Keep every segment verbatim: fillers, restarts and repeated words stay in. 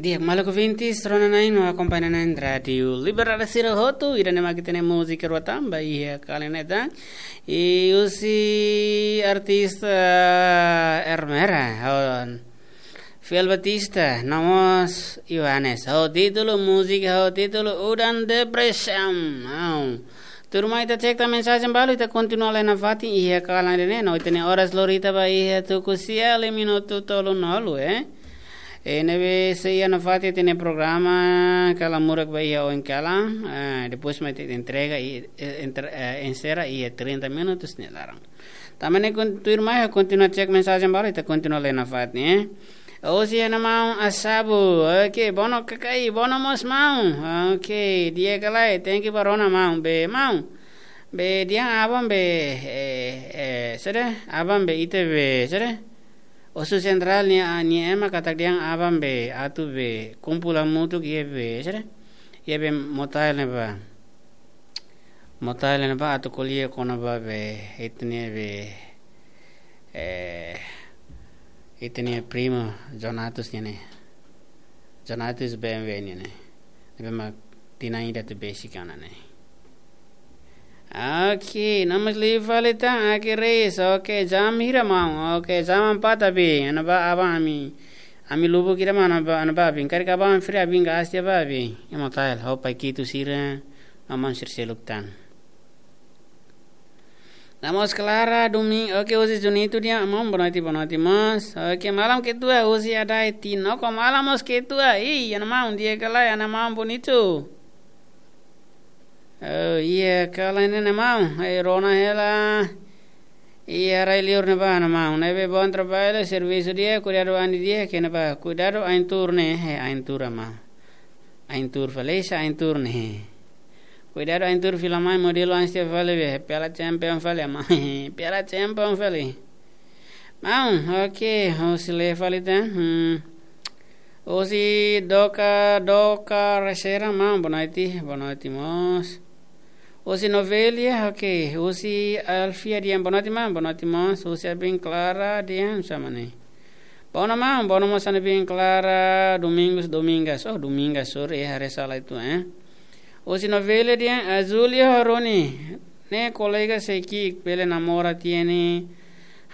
Di'ak, maluk ouvintes, rona-na'in no akompaña-na'in Rádiu Liberdade sira hotu, ida-ne'e mak ita-nia múzika rua tan ba iha kalan ne'e tan. I husi artista Ermera, ho Fiel Batista, no mós Yohanes. Ho títulu múzika, ho títulu Udan Depresi. Au. Tuirmai ita cek tan mensajen balu, ita kontinua lai nafatin iha kalan ne'e, no ita-nia oras lori tiha ba iha tuku sia, liu minutu tolunulu, eh. E ne'ebé sei iha nafatin ita-nia programa, kala murak ba iha oin kalan, eh, depois mai ita entrega i, eh, entre-, eh, enserra iha trinta minutos nia laran. Tanba ne'e kon-, tuirmai kontinua cek mensajen balu, ita kontinua lai nafatin, eh. Husi iha ne'e maun Asabu, oke, bono kakai, bono mós maun, oke, di'ak ka lae, thank you ba rona maun, be maun, be dehan aban be, eh, eh, saida, aban be ita be, saida, Osu Sentrál nia, nia ema katak dehan aban be, atu be, kumpul hamutuk iha be, saida, iha be Motael ne'ebá. Motael ne'ebá atu ko'alia kona-ba be, ita-nia be, eh, ita-nia primo Jonatus nian ne'e. Jonatus B M W nian ne'e. Ne'ebé mak tinan ida atu besik ona ne'e. Oke, no mós liu fali tan, oke, Reis, oke, jam hira maun, oke, jam empat abi, ne'ebá aban ami, ami lubuk ida mak ne'ebá, ne'ebá abi, karik aban fri abi, gás tiha ba abi, ema tael, ho pai kitu sira, no mós sira seluk tan. No mós Clara Domingo, oke, husi Junito dehan maun, boa noite, boa noite mós. Oke, malam ketua, husi Adai Tino, ho malam mós ketua, ih, ana maun, di'ak ka lae, ana maun bonito. Oh, iha kalan ne'e maun, eh, rona hela. Iha rai-liur ne'ebá, ana maun, ne'ebé bom trabalho, servisu di'ak, kuidadu ain di'ak, kena ba, kuidadu ain tuur ne'e, eh, ain tuur ama. Ain tuur fali, sa ain tuur ne'e. Kuidadu ain tuur fila mai modelu ain setiap fali be, piala champion fali ama. Piala champion fali. Maun, oke, husi Lefalita. Hmm. Husi Doka, Doka Resera, maun, boa noite, boa noite mós. Husi Novelia, oke. Husi Alfia dehan, boa noite, maun, boa noite mós. Husi Abin Clara dehan, sama ni. Boa noite, maun, boa noite mós, Abin Clara, Domingos, Domingas. Oh, Domingas, sorry, eh, haree sala uitoan, eh. Husi Novelia dehan, Azulio Roni, ne'e kolega sei ki'ik bele namora tiha ne'e.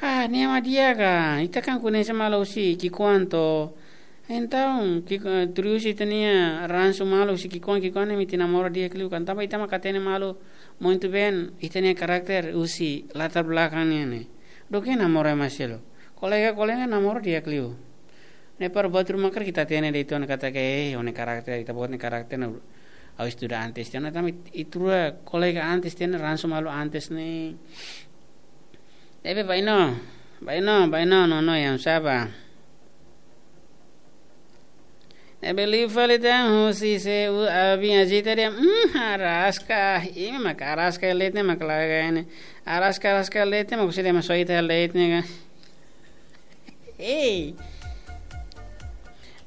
Ah, ne'e mak di'ak ka, ita kan koñese malu husi ki'ikoan to. Entaun, ki'ik-, eh, tuir husi ita-nia ransu malu husi ki'ikoan, ki'ikoan ne'e mak ita namora di'ak liu kan. Tanba ita mak hatene malu, muito bem, ita-nia karakter husi latar belakang nian ne'e. Duké namora ema seluk. Kolega, kolega namora di'ak liu. Ne'e para buat ruma karik ita hatene de'it ona katak, eh, ó-nia karakter, ita-boot nia karakter ne'e ha'u estuda antes tiha ona, tanba ita rua kolega antes tiha ona, ransu malu antes ne'e. Ne'ebé bainó, bainó, bainó, no, no, yang saba. Ne'ebé liu fali tan, husi se u abin ajita dehan, mm, araska, imi mak araska leten mak laga ne'e. Araska, araska leten mak husi dehan mak soita leten ka. Ei.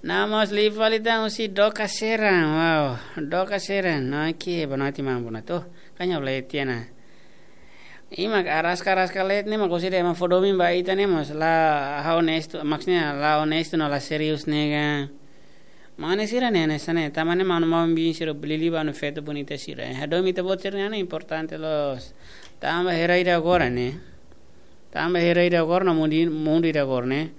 No mós liu fali tan husi Doka Seran. Wow, Doka Seran. No, oke, boa noite, maun, boa noite. Oh, kan ha'u la iha tiha ona. Imi mak araska, araska leten ne'e mak husi dehan mak fó domin ba ita ne'e mós la onestu, maksudnya la onestu no la serius ne'e ka. Mane sira ne'e, ne'e sane, tanba ne'e maun-maun biin sira lili ba no feto bonita sira. Eh, hadomi ita-boot sira-nian importante loos. Tanba iha rai ida agora ne'e. Tanba iha rai ida agora no mundu, mundu ida agora ne'e.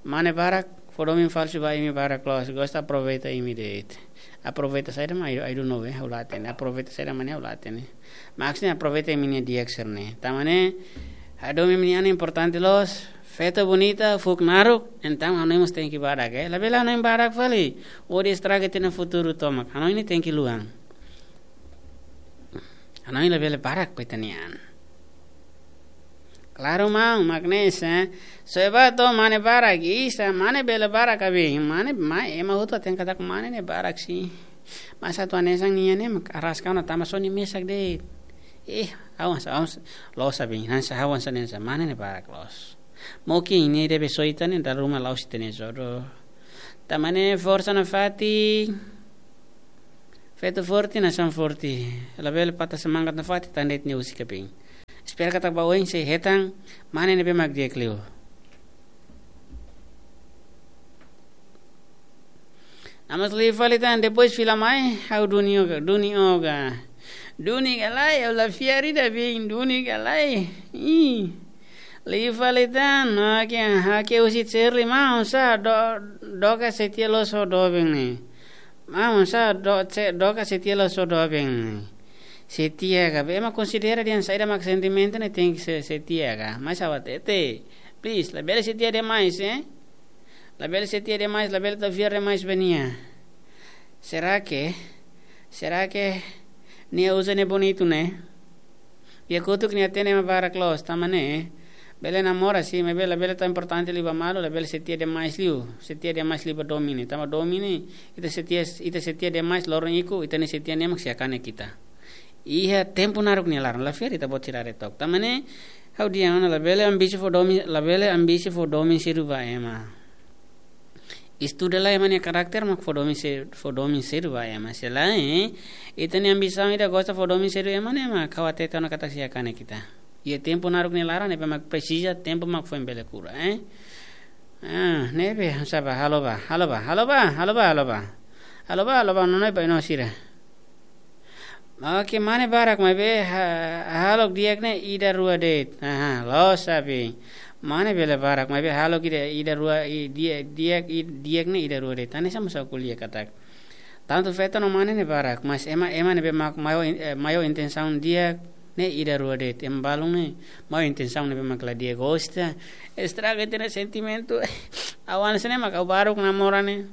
Mane barak fó domin falsu ba imi barak loos. Gosta aproveita imi de'it. Aproveita saida mak, I, I don't know, eh, ha'u la hatene. Aproveita saida mak ne'e ha'u la hatene. Maksudnya aproveita imi-nia di'ak sira-ne'e. Tanba ne'e, hadomi imi-nia an importante loos, feto bonita, fuuk naruk, entaun hanoin mós tenke barak, eh. Labele hanoin barak fali, hodi estraga ita-nia futuru tomak. Hanoin ne'e tenke luan. Hanoin labele barak ba ita-nia an. Klaru maun, mak ne'e, eh. Soe ba to'o mane barak, isa, mane bele barak abi, mane, mai, ema hotu hatene katak mane ne'e barak sin. Mas atu hanesan nia ne'e mak araska ona tanba só nia mesak de'it. Eh, ha'u hanesan, ha'u hanesan, loos abi, hanesan ha'u hanesan, hanesan mane ne'e barak loos. Mungkin nia debe soita ne'e dala ruma la'ós ita-nia jodoh. Tanba ne'e forsa nafatin. Feto forte, nasaun forte. Labele patah semangat nafatin, tan de'it nia husik kaping. Espera katak ba oin sei hetan mane ne'ebé mak di'ak liu. Amas liu fali tan, depois fila mai, ha'u duni oga, duni oga. Duni ka lae, ha'u la fiar ida biin, duni ka lae. Ih. Liu fali tan, hake, hake husi Shirley, maun sá, do, dook ka setia loos ho doben ne'e. Maun sá, do, se, dook ka setia loos ho doben ne'e. Setia ka, be ema konsidera dehan saida mak sentimentu ne'e tenke se, setia ka. Mas ha'u hatete, please, labele setia demais, eh? Labele setia demais, labele tau fiar demais ba nia. Será que, será que nia uza ne'e bonitu ne'e? Iha kotuk nia hatene ema barak loos, tanba ne'e, bele namora sin, maibé labele tau importante liu ba malu, labele setia demais liu, setia demais liu ba domin ne'e. Tanba domin ne'e, ita setia, ita setia demais loron ikus, ita-nia setia ne'e mak sei kanek ita. Iha tempu naruk nia laran, la fiar ita-boot sira haree took. Tanba ne'e, ha'u dehan ona labele ambisi fó domin, labele ambisi fó domin seidauk ba ema. Estuda lai ema nia karakter mak fó domin se, fó domin seidauk ba ema. Se lae, eh, ita-nia ambisaun ida gosta fó domin seidauk ema ne'e mak ha'u hatete ona katak sei kanek ita. Iha tempu naruk nia laran, ne'ebé mak presiza, tempu mak foin bele kura, eh. Ah, ne'ebé, sá bá, halo bá, halo bá, halo bá, halo bá, halo bá. Halo bá, halo bá, nonook bá, ino sira. Oke, mane barak maibé ha-, hahalok di'ak ne'e ida rua de'it. Aha, loos sabi. Mane bele barak maibé hahalok ida, ida rua, i-, di'ak, di'ak, i-, di'ak ne'e ida rua de'it. Hanesan mós ha'u ko'alia katak. Tantu feto no mane ne'e barak, mas ema, ema ne'ebé mak maior in-, eh, maior intensaun di'ak ne'e ida rua de'it. Ema balun ne'e maior intensaun ne'ebé mak la di'ak, gosta. Estraga ita-nia sentimentu. Ha'u hanesan ne'e mak ha'u baruk namora ne'e.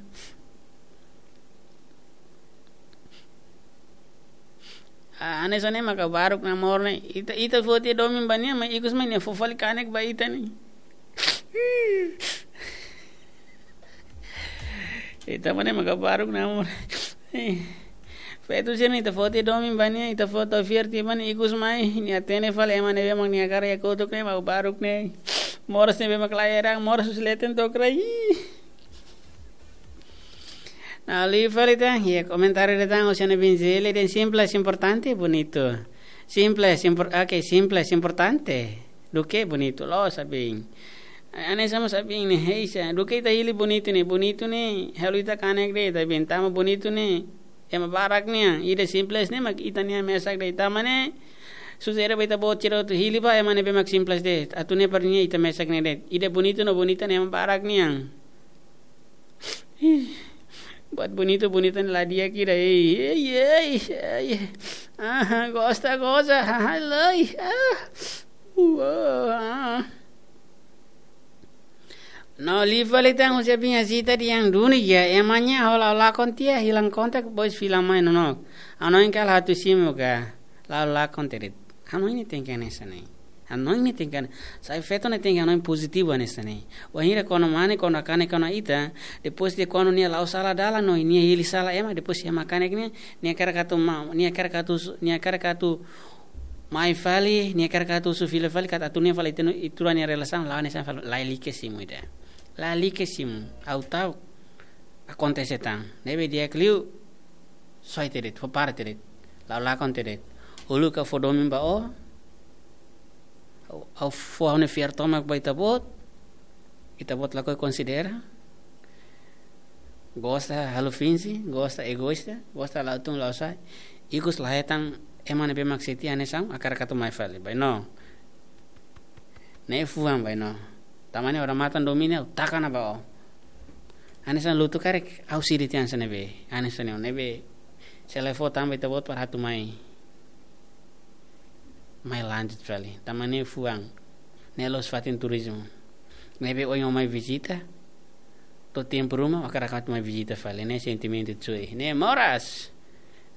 Ah, hanesan ne'e mak ha'u baruk namora ne'e. Ita, ita fó tiha domin ba nia, mas ikus mai nia fó fali kanek ba ita ne'e. Ita mak ne'e mak ha'u baruk namora. Feto sira ne'e ita fó tiha domin ba nia, ita fó tau fiar tiha ba nia, ikus mai nia hatene fali ema ne'ebé mak nia hakarak iha kotuk ne'e mak ha'u baruk ne'e. Moras ne'ebé mak la heran, moras husi leten to'o kraik. Nah, liu fali tan, iha komentáriu ida tan, husi Ana Binzeli dehan simples, importante, bonito. Simples, impor-, oke, simples, importante. Duké bonitu, loos sabi. Hanesan mós sabi ne'e, heisa. Duké ita hili bonitu ne'e, bonitu ne'e, halo ita kanek de'it, tapi tanba bonitu ne'e ema barak nian, ida simples ne'e mak ita-nia mesak de'it. Tanba ne'e, susar ba ita-boot sira atu hili ba ema ne'ebé mak simples de'it. Atu ne'e para nia ita mesak ne'e de'it. Ida bonitu no bonita ne'e ema barak nian. Buat bonitu, bonita ne'e la di'ak ida, ei, ei, ei, ei. Aha, gosta, gosta, haha, lai, ah. Uh, ah. No, liu fali tan husi Abinha Zita dehan duni ya, ema nia hola lakon tiha, hilang kontak, depois fila mai nonook. Hanoin kala atu simu ka, la lakon tiha de'it. Hanoin ne'e tenke hanesan ne'e. Hanoin ne'e tenke, sai feto ne'e tenke hanoin pozitivu hanesan ne'e. Wainhira kuandu mane, kuandu hakanek ona ita, depois de kuandu nia la'o sala dalan no nia hili sala ema, depois ema kanek nia, nia hakarak atu ma-, nia hakarak atu su-, nia hakarak atu mai fali, nia hakarak atu husu fila fali, katak atu nia fali tenu itura nia relasaun, la'o hanesan fali, lalika simu ida. Lalika simu, ha'u ta'uk. Akontese tan. Ne'ebé di'ak liu, soe tiha de'it, fó para tiha de'it. La'o lakon tiha de'it. Uluk ha'u fó domin ba ó. Ha'u, ha'u fó ha'u-nia fiar tomak ba ita-boot. Ita-boot lakohi konsidera. Gosta halo finje, gosta egoísta, gosta la'o tun la'o sa'e. Ikus la hetan ema ne'ebé mak setia hanesan, hakarak atu mai fali. Bainó. Ne'e fuan bainó. Tanba ne'e odamatan domin ne'e ha'u taka ona ba ó. Hanesan lutu karik ha'u siri tiha hanesan ne'ebé. Hanesan ne'e ne'ebé. Se la fó tan ba ita-boot para atu mai. Mai lanjut fali. Tanba ne'e fuan. Ne'e loos fatin turizmu. Ne'ebé ohin ó mai vizita. To'o tempu ruma, hakarak atu mai vizita fali. Ne'e sentimentu cuy. Ne'e moras.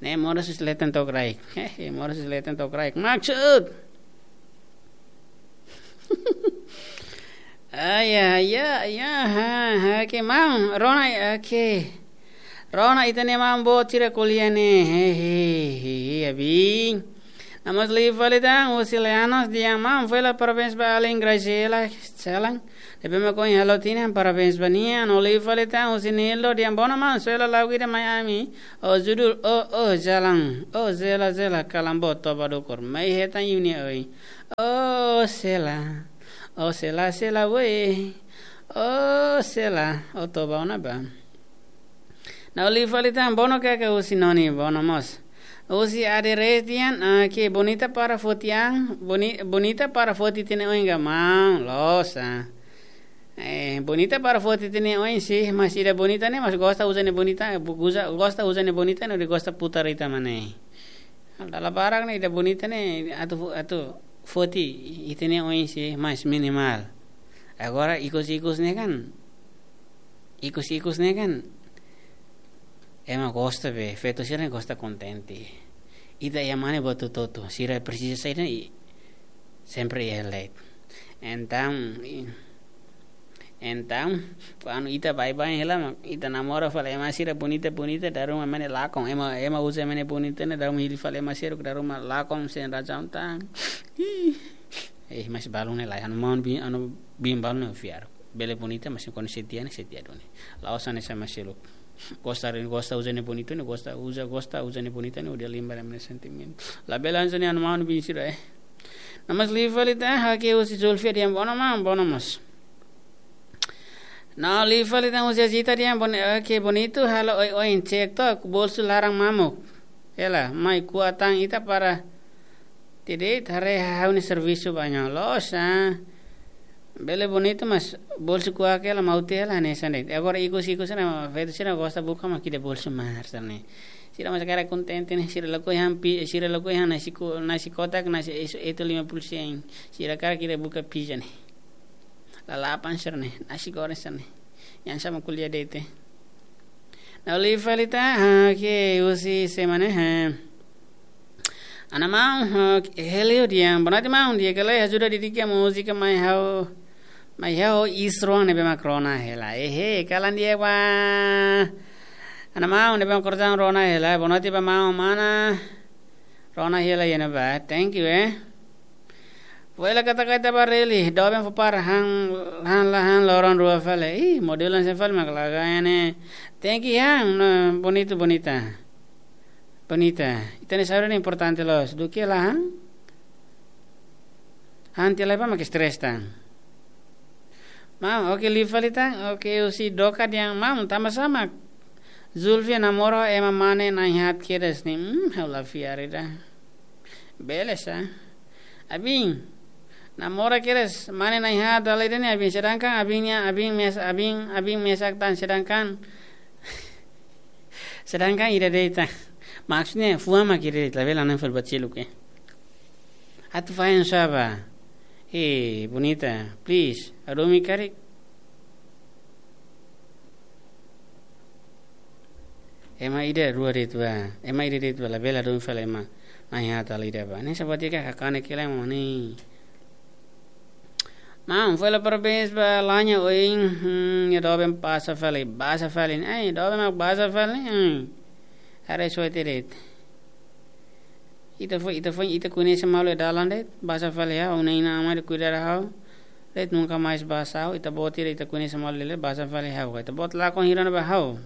Ne'e moras husi leten to'o kraik. Hehe, moras husi leten to'o kraik. Maksud. Ai, ai, ai, ai, ha, ha, oke, maun, rona, oke. Rona ita-nia maun boot sira ko'alia ne'e, he, he, he, he, abin. Amas liu fali tan, husi Leanos dehan maun, fó hela parabéns ba alin Graciela, Selang. Ne'ebé mak ohin halo tinan, parabéns ba nia, no liu fali tan, husi Nildo dehan bona maun, soe hela lagu ida mai ami. Ó judul, ó, ó, jalan, ó, zela, zela, kalan boot toba dukur, mai hetan yu nia oin. Ó, sela, ó, sela, sela, we. Ó, sela, ó, toba ona bá. Nau li fali tan, bono ka ke husi Noni, bono mós. Husi Ade Restian, ah, ke bonita para foti an, boni-, bonita para foti ita-nia oin ka maun, loos, ah. Eh, bonita para foti ita-nia oin sih, mas ida bonita ne'e, mas gosta uza ne'e bonita, bu-, uza, gosta uza ne'e bonita, ne'e gosta putar ita mak ne'e. Dala barak ne'e ida bonita ne'e, atu fu-, atu foti ita-nia oin sih, mas minimál. Agora ikus-ikus ne'e kan, ikus-ikus ne'e kan, ema gosta be, feto sira ne'e gosta kontente. Ita iha mane buat hotu-hotu, sira presiza saida i sempre iha leit. Entaun, i-, entaun, kuandu ita baibain hela mak, ita namora fali ema sira bonita-bonita, dala ruma ema ne'e lakon, ema, ema uza ema ne'e bonita ne'e, dala ruma hili fali ema sira, dala ruma lakon, sein razaun tan. Ih. Eh, mas balun ne'e lae, anu maun biin, anu biin balun ne'e fiar. Bele bonita, mas kuandu setia ne'e, setia duni. La'ós hanesan ema seluk. Gosta, gosta uza ne'e bonita ne'e, gosta uza, gosta uza ne'e bonita ne'e, hodi limpa ema nia sentimentu. Labele hanesan ne'e anu maun biin sira, eh. No mós li fali tan, ha'u ke husi Zulfia dehan bono maun, bono mós. No li fali tan husi Azita dehan boni-, eh, ke bonitu halo oioin, cek to'ok, bolsu laran mamuk. Hela, mai kuat tan ita para tiha de'it, haree ha'u-nia servisu ba ne'e, loos, ah. Bele bonitu mas bolsu kuak hela, maun, hela hanesan de'it. Agora ikus-ikus ne'e, feto sira gosta buka mak ida bolsu mahar sira ne'e. Sira mas hakarak kontente ne'e, sira lakohi han pi-, sira lakohi han nasi ko-, nasi kotak, nasi esu-, etu lima puluh sen. Sira hakarak ida buka pizza ne'e. Lalapan sira ne'e, nasi goreng sira ne'e. Yang sama kuliah de'it. Nau li fali tan, ah, ke husi semana, ha. Ana maun, ah, Helio dehan, bonoite maun, di'ak ka lae, ajuda dedika múzika mai ha'u, mai ha'u isroan ne'ebé mak rona hela. Ehe, kalan di'ak ba. Ana maun ne'ebé mak kortan rona hela, bonoite ba maun mana. Rona hela iha ne'ebá, thank you, eh. Fó hela katak ita bá rally, doben fó para han, han la han loron rua fali. Ih, modelu hanesan fali mak laga ne'e. Thank you, han, no, bonitu, bonita. Bonita. Ita-nia saúde ne'e importante loos. Duké la han. Han tiha lai bá mak stress tan. Maun, oke, li fali tan, oke, husi Doka dehan maun, tanba sá mak Zulfia namora ema mane na'in haat kedas ne'e, hmm, ha'u la fiar ida. Bele sá. Abin, namora kedas, mane na'in haat dala ida ne'e, abin, sedangkan abin nia, abin mes-, abin, abin mesak tan, sedangkan, sedangkan ida de'it tan. Maksudnya, fuan mak ida de'it, labele hanoin fali buat seluk, eh. Atu fahen sá bá. Eh, bonita, please, hadomi karik. Ema ida rua de'it bá. Ema ida de'it bá, labele hadomi fali ema na'in haat dala ida bá. Ne'e sabatika hakanek hela ema ne'e. Maun, fó hela parabéns ba Lanya oin, hmm, nia doben pasa fali, basa fali. Ai, doben mak basa fali. Hmm. Haree só ita de'it. Ita foin, ita foin, ita koñese malu iha dalan de'it, basa fali ha'u, ha'u-nia inan-aman de'it kuidadu ha'u. De'it nunka mais basa ha'u, ita-boot ida ita koñese malu lele, basa fali ha'u. Ita-boot lakon hira ona ba ha'u.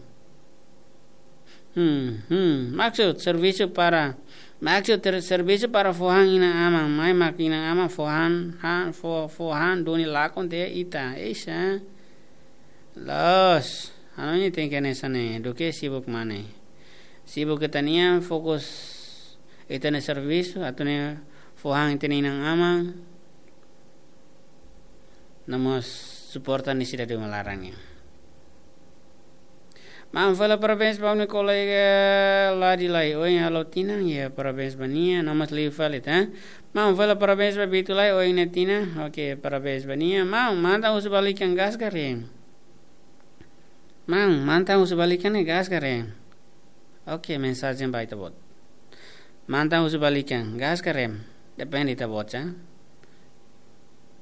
Hmm, hmm. Maksud servisu para, maksud ter-, servisu para fó han inan-aman, mai mak inan-aman fó han, han, fó, fó han duni lakon tiha ita. Eish, ah. Loos, hanoin ne'e tenke hanesan ne'e, duké sibuk mane. Sibuk ita-nian, fokus ita-nia servisu, atu ne'e fó han ita-nia inan-aman. No mós suporta nia sidade uma laran nian. Maun, fó hela parabéns ba ha'u-nia kolega Ladi Lai oin halo tinan, ya, parabéns ba nia, no mós liu fali tan. Maun, fó hela parabéns ba Bitu Lai oin nia tinan, oke, parabéns ba nia. Maun, mantan husu ba likan gas ka rem? Maun, mantan husu ba likan ne'e gas ka rem? Oke, mensajen ba ita-boot. Mantan husu ba likan, gas ka rem? Depende ita-boot, ya.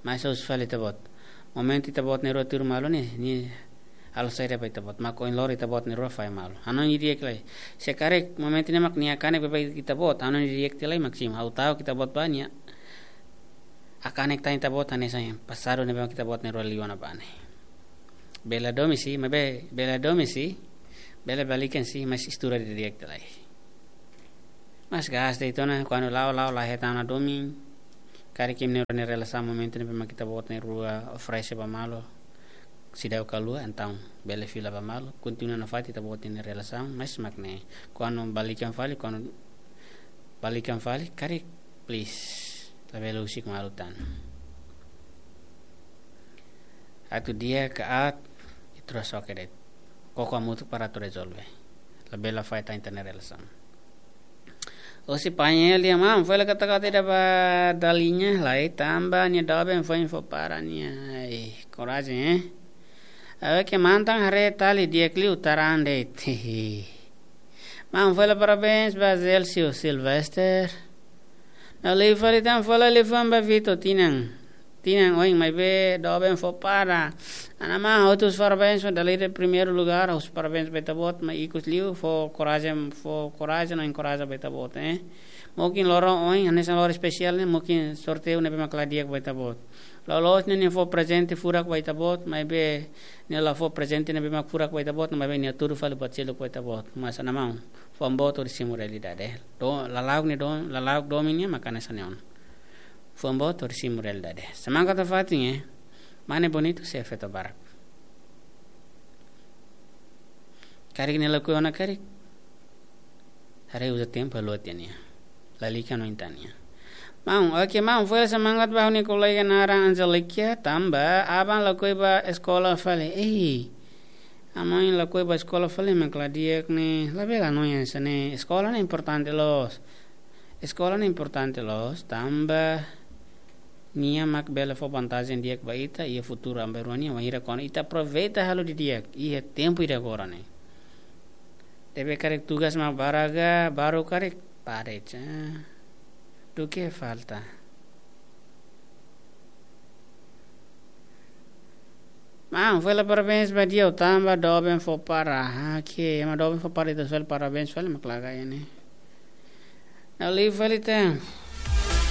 Mas husu fali ita-boot. Momentu ita-boot na'in-rua tuur malu ne'e, nia halo saida ba ita-boot. Mak oin loron ita-boot na'in-rua fahe malu. Hanoin didi'ak lai. Se karik momentu ne'e mak nia hakanek ba ita-boot, hanoin didi'ak tiha lai mak simu. Ha'u ta'uk ita-boot ba nia hakanek tan ita-boot hanesan pasadu ne'ebé mak ita-boot na'in-rua liu ona ba ne'e. Bele hadomi sih, maibé bele hadomi sih. Bele ba likan sih, mas estuda didi'ak tiha lai. Mas gas de'it ona, kuandu la'o, la'o la hetan ona domin. Karik imi na'in-rua nia relasaun momentu ne'ebé mak ita-boot na'in-rua oferese ba malu. seidauk kalua, entaun bele fila ba malu, kontinua nafatin ita-boot nia relasaun, mas mak ne'e, kuandu balikan fali, kuandu balikan fali, karik, please, labele husik malu tan. Atu di'ak ka aat, ita rua soke de'it. Koko hamutuk para atu rezolve. Labele la fahe tan ita-nia relasaun. Husi pañál nia, maun, foin la katak ita ba dala ida, lae, tanba nia doben foin fó para nia. Ai, korajen, eh. Oke, mantan haree tali di'ak liu, taran de'it. Maun, foin la parabéns ba Zelcio Silvester. Na'in-lima fali tan, foin la liafuan ba Vito, tinan. Tinan oin, maibé doben fó para. Ana, maun, ha'u husu parabéns ba dala ida primeiru lugár, husu parabéns ba ita-boot, maibé ikus liu fó korajen, fó korajen no enkoraja ba ita-boot, eh. Mungkin loron oin, hanesan loron espesiál ne'e, mungkin sorteiu ne'ebé mak la di'ak ba ita-boot. Loloos ne'e nia fó prezente furak ba ita-boot, maibé nia la fó prezente ne'ebé mak furak ba ita-boot, maibé nia hatudu fali buat seluk ba ita-boot. Mas, ana, maun, fuan boot hodi simu realidade. Do, lala'ok nia do, lala'ok domin nian mak hanesan ne'e ona. Fuan boot hodi simu realidade. Semangat nafatin, eh. Mane bonitu, se feto barak. Karik nia lakohi ona karik, haree uza tempu halo tiha nia. Lalika no intan nia. Maun, oke, maun, foin la semangat ba ha'u-nia kolega naran Angelica, tanba aban lakohi ba eskola fali. Ei, aban lakohi ba eskola fali mak la di'ak ne'e, labele hanoin hanesan ne'e, eskola ne'e importante loos. Eskola ne'e importante loos, tanba nia mak bele fó vantajen di'ak ba ita iha futuru amberua nian, wainhira kuandu ita aproveita halo didi'ak iha tempu ida agora ne'e. Debe karik tugas mak barak, baru karik pare, ca. Duké falta. Maun, foin la parabéns ba di'ak tanba doben fó para. Ah, oke, ema doben fó para, ita fali parabéns fali mak laga iha ne'e. Na'in-lima fali tan.